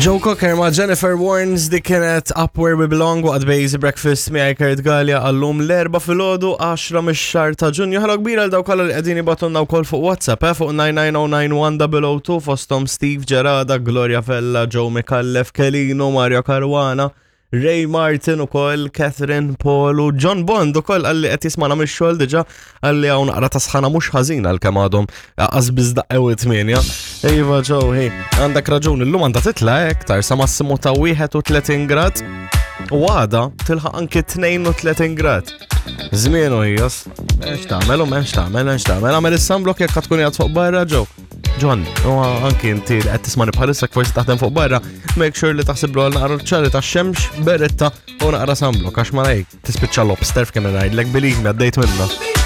Joe Cocker ma' Jennifer Warnes dik kienet Up Where We Belong waqt Bejzi Breakfast miegħi Kurt Gallia għallum l-erba filgħodu 10 mix-xahar ta' Ġunju. Ħalo kbira għal dawk kollha li qegħdin jibatunna wkoll fuq WhatsApp eh, fuq 99091 fosthom Steve Gerada, Gloria Vella, Joe Micallef, Kelino, Mario Caruana, Ray Martin ukoll, Catherine Paul u John Bond ukoll għalli qed jismana mix-xogħol diġà għalli hawn naqra ta' sħana mhux ħażin għalkemm għadhom qas biss daqqew it-tmienja. Iva Joe, hi, għandek raġun, illum għandha titla' iktar sa massimu ta' 31 grad u għada tilħaq anki 32 grad. Żmien u ħijas. M'hemmx tagħmel u m'hemmx tagħmel, m'hemmx tagħmel. Għamel is-sunblock jekk tkun qiegħed fuq barra Joe. John, u anki inti li qed tismani bħalissa forsi taħdem fuq barra, make sure li taħsiblu għal naqra ċari ta' xemx, beretta u naqra sunblock għax ma ngħid tispiċċa lobster f'kemm ngħidlek believe me għaddejt minna.